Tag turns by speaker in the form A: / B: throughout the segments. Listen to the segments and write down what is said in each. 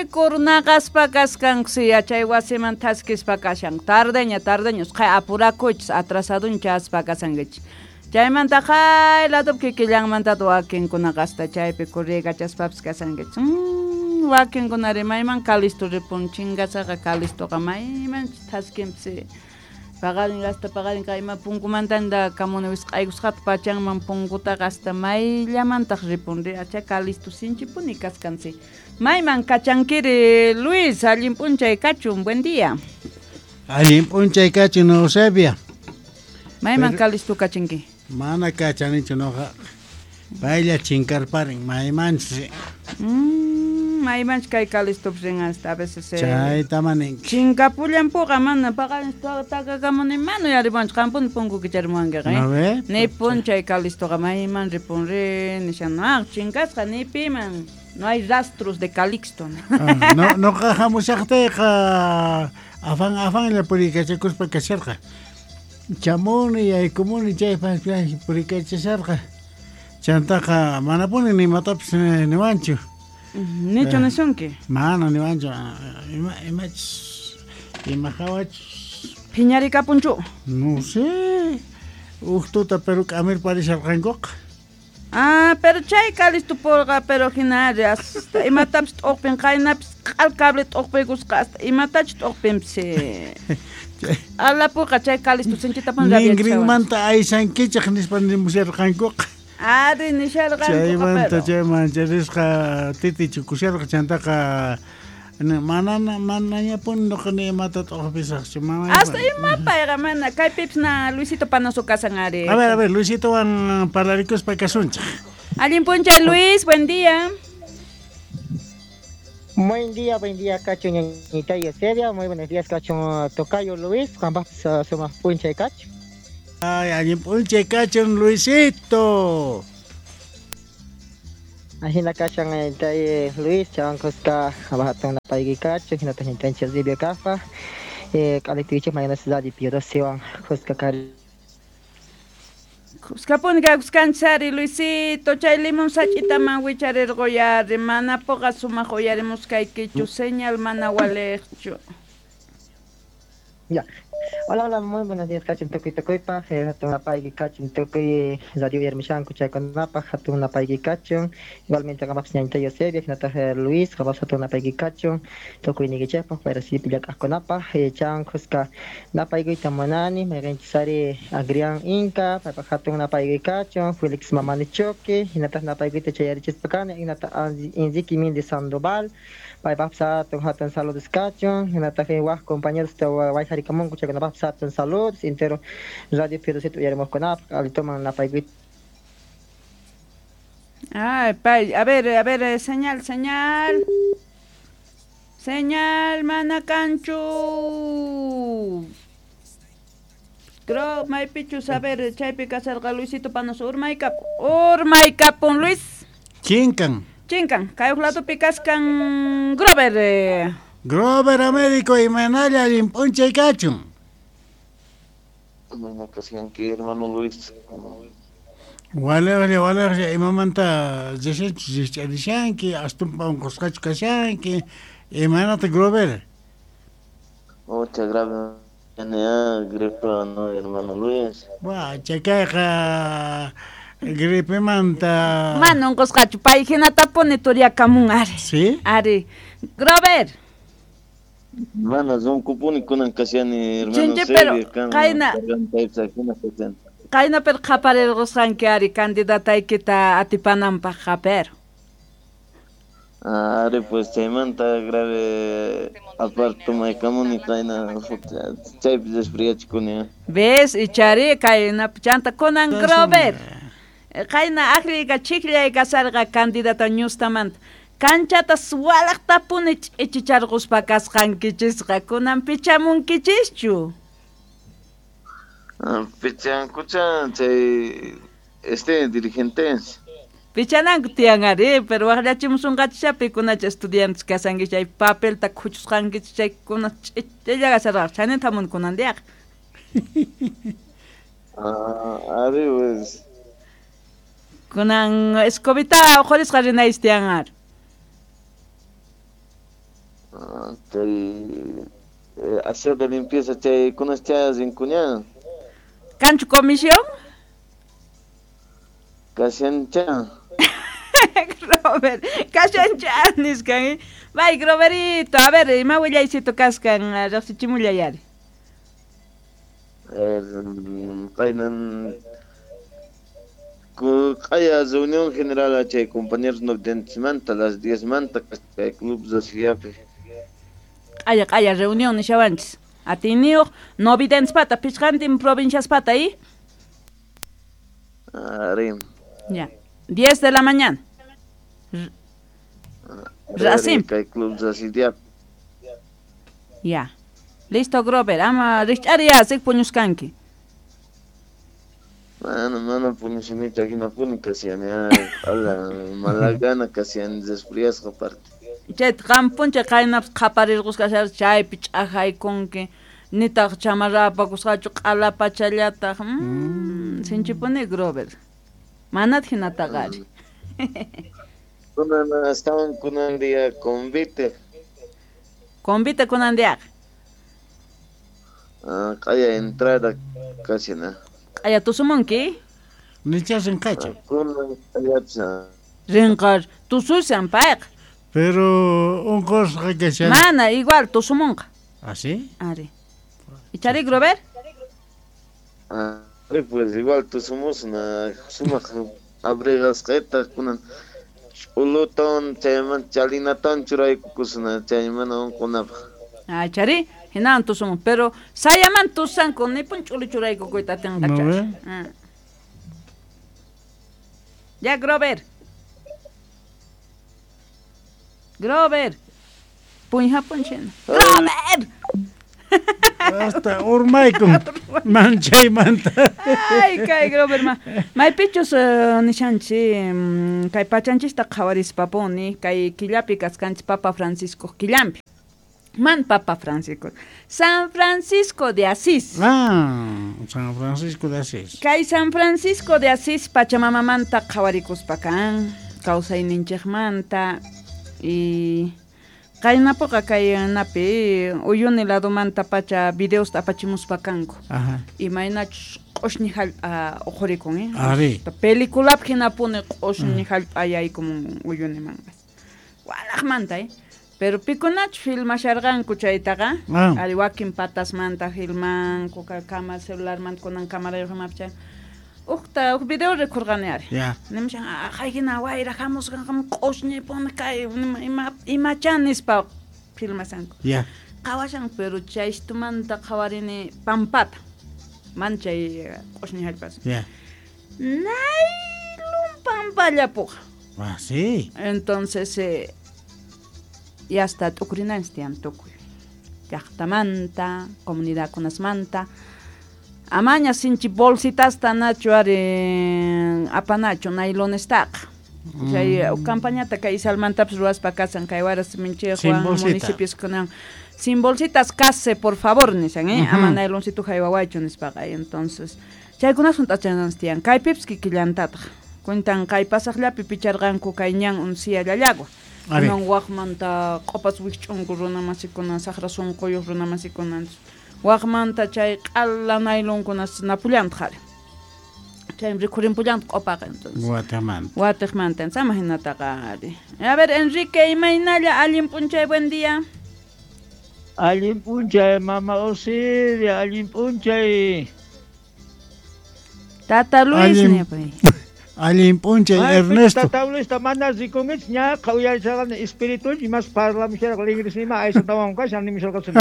A: Chaypi kurnaqaspa kaskankusi yachay wasiman thaskispa kashan. Tardeña, tardeña, usqhay apurakuychis, atrasadun chaspa kasankichis. Chaymanta qay ladopi kikillanmanta wakinkunaqa hasta chaypi kurriykachaspapis kasankichis. Wakinkunari mayman Calisto ripun, chingasaqa Calistoqa maymanchus thaskinpis. Paqarin hasta paqarin kay ima punkumantanta kamuni wisq'aykusqata pachanman punkutaqa hasta mayllamantaq ripun ri acha Calisto sinchipuni kaskansi. Mayman kachankiri Luis, allin p'unchay kachun, buen día.
B: Allin p'unchay kachun, Eusebia.
A: Mayman Calisto kachanki?
B: Mana kachanichu noqa. Paylla chinkarparin, maymanchus.
A: Maymanchus kay Calistopis rin hasta a veces.
B: Chayta maninki.
A: Chinkapullanpuqa mana paqarin takakamuni mana yaripunchu, qampuni punku kicharimuwankiqa.
B: ¿No ve?
A: Nipun chay Calistoqa mayman ripun ri nishan, ah, chinkasqa ni piman. No hay rastros de Calixto.
B: Ah, no, noqa hamushaqtayqa afan afanlla puriykachakuspa kasharqa. Chamuni yaykumuni chaypas purikachasharqa. Chantaqa manapuni nimatapis niwanchu.
A: Nichu nisunki?
B: Mana niwanchu. Ima imachus ima hawachus.
A: Phiñarikapunchu?
B: No sé. Uj tuta pero k'amirparisharqankuqa.
A: Ah, pero chay Calisto purqa, pero hina hasta imatapis t'uqpin qaynapis q'al cable t'uqpiykusqa hasta imatachus t'uqpinpis. Alapuqa chay Calisto sinchitapuni
B: Ningrinmanta aysankichej nispa nimusharqankuqa.
A: Ari nisharqankuqa.
B: Chaymanta chay mancharisqa titi chukusharqa chantaqa mana manañapuni noqa ni imata t'uqpisaqchu mana.
A: Hasta ima payqa mana kaypipis na Luisito Panoso kasan ari.
B: A ver, Luisitowan parlarikuspa kasunchej.
A: Allin p'unchay Luis, buen día.
C: Buen día, Cacho ñañita y Eusebia. Muy buenos días, Cacho Tocayo Luis. Juan somos puncha y Cacho.
B: Ay, allin p'unchay Cacho Luisito.
C: Ajina Cacho ñañita y Luis, chancosca, abajo una paigui Cacho, jinata ñañita Eusebia Cafa. Caletiche mañana ciudad y Pío Siwan, Cusca Cari.
A: Kuskapuni kakuskanchari Luisito, chay limón sach'itaman wicharirquyari, manapuqa sumaq uyarimusqaykichu, señal mana waliqchu.
C: Ya. Hola, hola, muy buenos días, Cacho, tukuy tukuypa, hatun napayki Cacho, tukuy radio yarmishanku chaykunapaq, hatun napayki Cacho, igualmente qamapis ñañita Eusebia, hinataq Luis, qamapis hatun napayki Cacho, tukuy niykichikpaq, payrasipi llak'aqkunapaq, chan kuska napaykuyta munani, mayqinchis Agrián Inca, paypaq hatun napayki Cacho, Felix Mamani Choque, hinataq napaykuyta chayarichispa kani, hinataq Enrique Méndez Sandoval, paypaqpis hatun hatun saludos Cacho, hinataq waj compañeros wayjarikamunku chaykunapaqpis hatun saludos, entero Radio Piedocito uyarimuqkunapaq, alitoman napaykuyta.
A: Ay, pay, a ver, señal, señal. Señal, mana kanchu. Creo, maypichus, a ver, chaypi kasarqa Luisito Panoso, urmaykapun, Luis.
B: Chinkan.
A: Chinkan, kay uj ladopi kaskan Grover.
B: Grover Américo imanalla allin p'unchay kachun.
D: Buena kashanki, hermano Luis.
B: Walejlla, walejlla, imamanta rishanki, astumpa unqusqachu kashanki, imanata Grover?
D: Mucha grave, gripe, no, hermano Luis.
B: Buah, chakayqa gripemanta.
A: Mana unqusqachu, pay hinatapuni turiakamun ari.
B: ¿Sí?
A: Ari. Grover.
D: Mana runkupuni kunan kashani, hermano.
A: Chinchi, pero qayna. Qayna pero qaparirqusqanki ari candidataykita atipananpaqqa, pero.
D: Ari pues chaymanta grave aparte maykamuni qayna chaypi resfriachikuni.
A: ¿Ves? Ichari kayna chanta kunan Grover. Qayna aqllayqa chikllay kasarqa candidata ñustamanta. Kanchata suwalaqtapuni ch'ichicharquspa kasqankichisqa kunan pichamunkichischu.
D: Pichankucha chay dirigentes.
A: Pichananku tiyan ari, pero waqllachimusunqachisha pikunacha estudiantes kasanki chay papelta khuchusqankichis chaykuna ch'ichilla kasarqa chayninta hamun kunan diaqa.
D: Ari pues.
A: Kunan escobita uqhurisqa rinaychis tiyan ari.
D: Chay aseo de limpieza chaykunas chay rinkuña.
A: Kanchu comisión?
D: Kashancha.
A: Robert, kashancha niskan. Bay, Roberito, a ver, ima willaycito kaskan riqsichimullay ari.
D: Kaynan q'aya reunión general chay compañeros manta las 10 manta kay club Rosillapi.
A: Q'aya q'aya reunión nishawanchis. Atiniyuq novidenspata pichqantin provinciaspata y
D: Ari.
A: Ya. 10 de la mañana. Racim.
D: Kay club Rosillapi.
A: Ya. Listo, Grover. Ama rich'ariya sik puñuskanki.
D: Mana puñushanichu hinapuni kashani ala malagana kashani resfriasqa parte.
A: Chayta qam puncha qaynapas qhaparirqusqa chaypi ch'ajaykunki nitaq chamarra apakusqachu q'ala pachallataq. Sinchipuni Grover. Manataq hinataqa ari.
D: Kunan astawan kunan día convite.
A: Convite kunan diaqa.
D: Q'aya entrada kashina.
A: Q'aya tusumunki?
B: Nicha rinqachu.
D: Kunan q'ayapsa.
A: Rinqar tusushan payqa.
B: Pero unqusqa kashan.
A: Mana igual tusumunqa.
B: ¿Ah, sí?
A: Ari. ¿Ichari Grover?
D: Ari pues igual tusumusna sumaq abrigasqayta kunan ch'ulutawan chayman chalinatawan churaykukusna chaymana unqunapaq.
A: Ah, chari, hinan tusumun, pero sayaman tusanku nipun ch'ulu churaykukuyta atinqachari. Ya, Grover. Grover. Puñja punchina. Grover.
B: Hasta urmaykun manchaymanta.
A: Ay, kay Grover ma. Maypichus nishanchi kay pachanchista qhawarispapuni kay killapi kaskanchis Papa Francisco killampi. Man Papa Francisco. San Francisco de Asís.
B: Ah, San Francisco de Asís.
A: Kay San Francisco de Asís pachamamamanta qhawarikuspa kan, kawsayninchikmanta y qaynapuqa kay napi uyuni ladomanta pacha videosta apachimuspa kanku.
B: Ajá.
A: Imaynachus q'ushñi hallp'a uqhurikun, eh?
B: Ari.
A: Peliculap hinapuni q'ushñi hallp'a yaykumun uyunimanqa. Walaqmanta, eh? Pero pikunachu filmasharqanku chaytaqa. Ari wakin patasmanta filmanku, kama celularmanta kunan camarayuq imapi chay. Uqta uq video rikurqani ari.
B: Ya.
A: Nimushan haykina wayra hamusqan q'ushñipuni kay imacha nispa filmasanku.
B: Ya.
A: Qhawashan pero chaystumanta qhawarini pampata. Man chay q'ushñi hallpas.
B: Ya.
A: Naylun pampallapuqa.
B: Ah, sí.
A: Entonces ya está t'ukurinanchis tiyan tukuy. Llaqtamanta, comunidadkunasmanta. Amaña sinchi bolsitasta nachu ari apanachu nailonestaqa. Chay campañata kay Isalmantapis ruwaspa kasan kay Waras Minchejwan municipios kunan. Sin bolsitas case, por favor, nisan, eh? Ama nailoncito haywawaychu nispaqa. Entonces, chaykunas hunt'achananchis tiyan. Kaypipis kikillantataq. Cuentan kay pasaqllapi picharqanku kay ñan uncia llallagua. Kunan waqmanta q'opas wikch'unku runamasikuna, saqra sunquyuq runamasikuna. Waqmanta chay q'ala nailonkunas napullantaq ari. Chay rikhurinpullantaq q'opaqa entonces.
B: Watimanta.
A: Watiqmanta, sama hinataqa ari. A ver, Enrique, imaynalla allin p'unchay, buen día.
E: Allin p'unchay, mama Osiria, allin p'unchay.
A: Tata Luis nipay.
B: Allin p'unchay, Ernesto.
E: Tata Luis, mana rikunkichis ñaqa uyarisharqani espíritu imas parlamusharqa ligrisnima aysatawan kashan nimusharqasuni.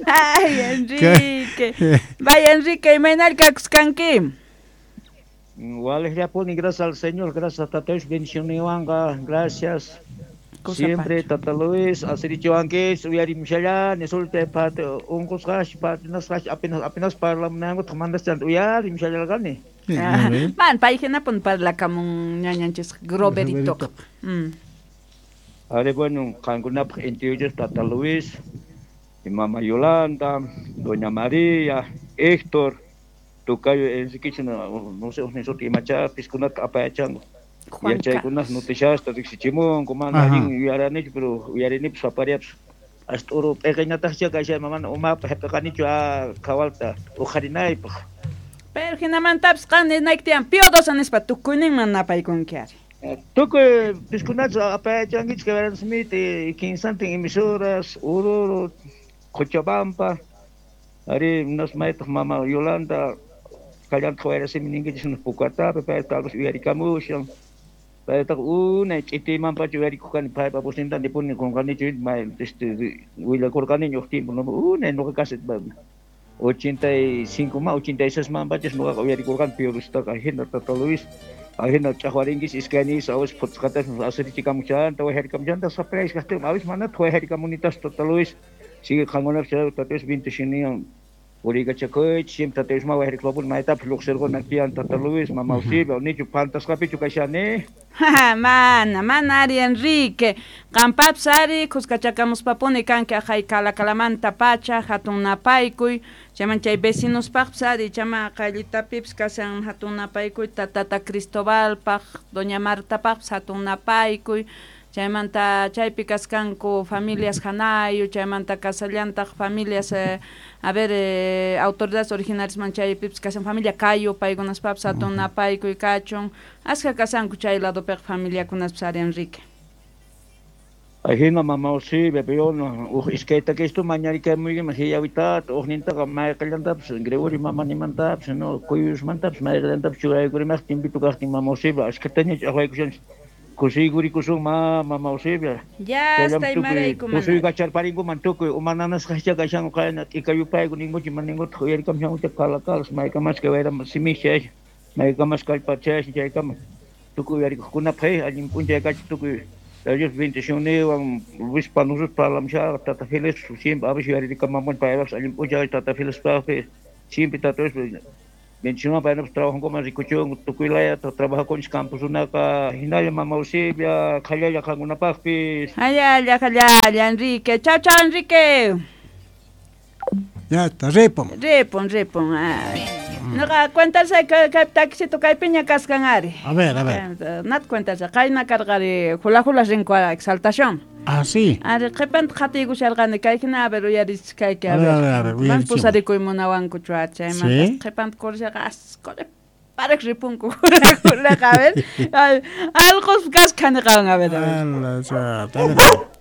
A: Ay, Enrique. Vaya, Enrique, imaynalla kakuskanki.
E: Walejllapuni, gracias al Señor, gracias a Tata Luis, bendicionniwanqa, gracias. Siempre Tata Luis, asirichiwankichis, uyarimushallani, sulte parte unqusqash, partinasqash, apenas parlamunankuta mandaschanta uyarimushallarqani.
A: Man, pay hinapun parlakamun ñañanchis Groverito.
E: Ari, bueno, qankunapaq intiyuchis Tata Luis, y mamá Yolanda, doña María, Héctor, Tocayo Enrique, no sé, imachapis kunata apayachanku. Yachaykunas noticiasta riqsichimunku mana allin yuyaranichu pero uyarinipis sapariapis ast'uru p'iqiñataqcha kashan mana umapaq hap'iqanichu a qhawalta uqharinaypaq.
A: Pero hinamantapis qan ninayki tiyan Pío XII nispa tukuyninman napaykunki ari.
E: Tukuy piskunachu apayachankichik Verano Smith, kinsantin emisoras, Oruro, Cochabamba, ari nas maytaq mama Yolanda kallantaq wayrasimi ninkichis Pucatapi, payta tal vez uyarikamushan. Paytaqa unay ch'itimanpacha uyarikuq kani paypa vozninta nipuni qunqanichu may willakurqaniña uj tiempo unay nuqa casi 85 ma 86 manpachas nuqaqa uyarikurqani Pío XIItaqa ajina tata Luis ajina ch'aqwarinkis iskayniyis awis phutisqatas asirichikamuchanta wayharikamuchanta sapayas kaqtin awis manataq wayharikamunitas tata Luis sigue qankunapis tata Luis bendicionniwan puriykachakuychis siempre tata Luis ma wayharikupapuni maytapis lluqsirquna tiyan tata Luis mama Eusebia nichu pantasqapichu kashani.
A: Mana, mana ari Enrique. Qampapis ari khuskachakamuspapuni kanki aqhay kalakalamanta pacha hatun napaykuy chayman chay vecinospaqpis ari chama qayllitapipis kashan hatun napaykuy tata Cristobalpaq doña Martapaqpis hatun napaykuy chaymanta chaypi kaskanku familias hanayu chaymanta kasallantaq familias a ver autoridades originarias chaypipis kashan familia Cayo paykunaspapis hatun napaykuy kachun askha kasanku chay ladopiqa familiakunaspis ari Enrique.
E: Ajina mama Eusebia pero uj iskaytakistu mañarikamuykiman hiyawitata ujnintaqa mayqillantapis Gregorio mamanimantapis no Cuyusmantapis mayqillantapis churaykurimaq timpito kaqtin mama Eusebia askhataña ch'aqwaykushanchis kusiykurikusun ma mama Eusebia.
A: Ya hasta imaraykuman.
E: Kusuykacharparinkuman tukuy umananasqascha kashanku qayna t'ikayupayku ninkuchik maninkutaq uyarikamushankucha kalakalas maykamas kay wayra simischa maykamas kallpachayashan chaykama tukuy uyarikuqkunapaq allin p'unchay kachun tukuy Dios bendicionniwan Luis Panusus parlamushaqa tata Félix siempre a veces uyaririkamamuni paypaqpis allin p'unchay tata Félixpaqpi siempre tata Luis bendicionwan paynapas trabajankuman rikuchunku tukuy layata trabajakunchis camposunaqa hinalla mama Eusebia qhallalla qankunapaqpis.
A: Hallalla hallalla Enrique. Chau chau Enrique.
B: Ya está, ripun.
A: Ripun, ripun. Ay. Noqa cuentasay kay taxito kaypiña kaskan ari.
B: A ver, a ver.
A: Nat cuentasay qayna karqari hula hula rinku exaltación.
B: Ah, sí.
A: Ari qhipanta qhatiykusharqani kay hina a ver uyarichis kayki a ver. Man pusarikuy munawankuchu chaymanta qhipanta kurishaqa asqole parak ripunku hula hulaqa a ver. Alqos kasqa niqawan a ver. A ver.